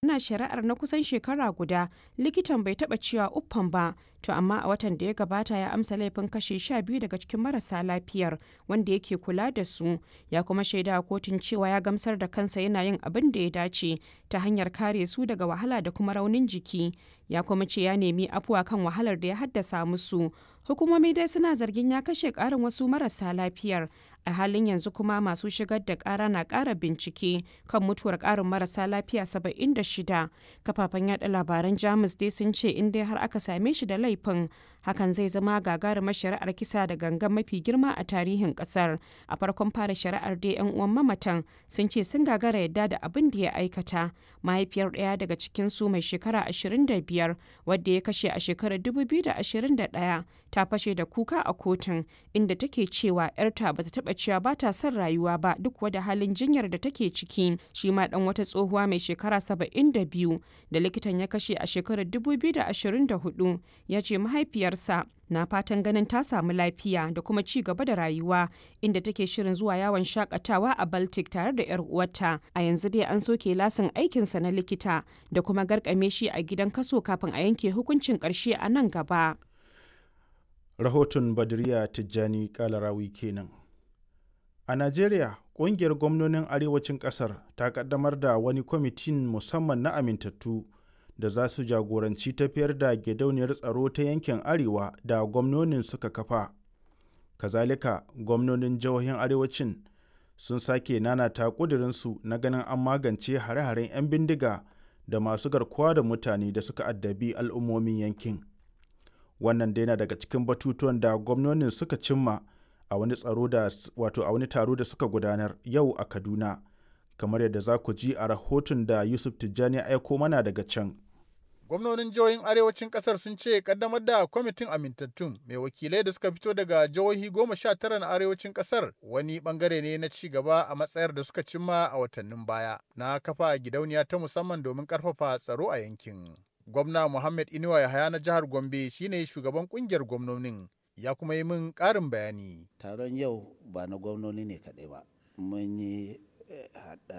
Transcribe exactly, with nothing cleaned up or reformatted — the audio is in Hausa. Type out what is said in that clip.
Ana shari'ar na kusan shekara guda, likitan bai taɓa cewa uffam ba, to amma a watan da ya gabata ya amsa laifin kashe sha biyu daga cikin marasa lafiyar wanda yake kula da su, ya kuma shaidawa kotun cewa ya gamsar da kansa yana yin abin da ya dace ta hanyar kare su daga wahala da kuma raunin jiki, ya kuma ce ya nemi afuwa kan wahalar da ya haddasa musu. Hukumomi dai suna zargin ya kashe ƙarin wasu marasa lafiyar. A halin yanzu kuma masu shigar da ƙara na ƙara bincike kan mutuwar ƙarin marasa lafiya saba'in da shida. Kafafen yada labaran Jamus dai sun ce in dai har aka same shi da laifin, hakan zai zama gagarumar shari'ar kisa da gangan mafi girma a tarihin ƙasar. A farkon fara shari'ar dai 'yan uwan mamatan sun ce sun gagara yadda da abin da ya aikata. Mahaifiyar ɗaya daga cikinsu mai shekara ashirin da biyar wadda ya kashe a shekarar dubu biyu da ashirin da ɗaya ta fashe da kuka a kotun, inda take cewa 'yarta bata taɓa cewa ba ta son rayuwa ba duk wada halin jinyar da take ciki. Shi ma ɗan wata tsohuwa mai shekara saba'in da biyu da likitan ya kashe a shekarar dubu biyu da ashirin da hudu ya ce mahaifiyarsa na fatan ganin ta samu lafiya da kuma ci gaba da rayuwa, inda take shirin zuwa yawon shakatawa a Baltic tare da 'yar uwarta. A yanzu dai an soke lasin aikinsa na likita da kuma garkame shi a gidan kaso kafin a yanke hukuncin ƙarshe a nan gaba. Rahoton Badriya Tijjani Kalarawi kenan. A Najeriya, ƙungiyar gwamnonin arewacin ƙasar ta ƙaddamar da wani kwamitin musamman na amintattu da za su jagoranci tafiyar da gidauniyar tsaro ta yankin Arewa da gwamnonin suka kafa. Kazalika, gwamnonin jihohin arewacin sun sake nanata ƙudurinsu na ganin an magance hare-haren 'yan bindiga da masu garkuwa da mutane da suka addabi al'ummomin yankin. Wannan dai na daga cikin batutuwan da gwamnonin suka cimma a wani tsaro da wato a wani taro da suka gudanar yau a Kaduna, kamar yadda za ku ji a rahoton da Yusuf Tijjani ya aiko mana daga can. Gwamnonin jihohin arewacin kasar sun ce kaddamar da kwamitin amintattun mai wakilai da suka fito daga jihohi goma sha tara na arewacin kasar wani bangare ne na ci gaba a matsayar da suka cimma a watannin baya na kafa gidauniya ta musamman domin karfafa tsaro a yankin. Gwamna Muhammad Inuwa Yahaya na jihar Gombe shine shugaban kungiyar gwamnonin, ya kuma yi min ƙarin bayani. Taron yau ba na gwamnoni ne kaɗai ba, mun yi haɗa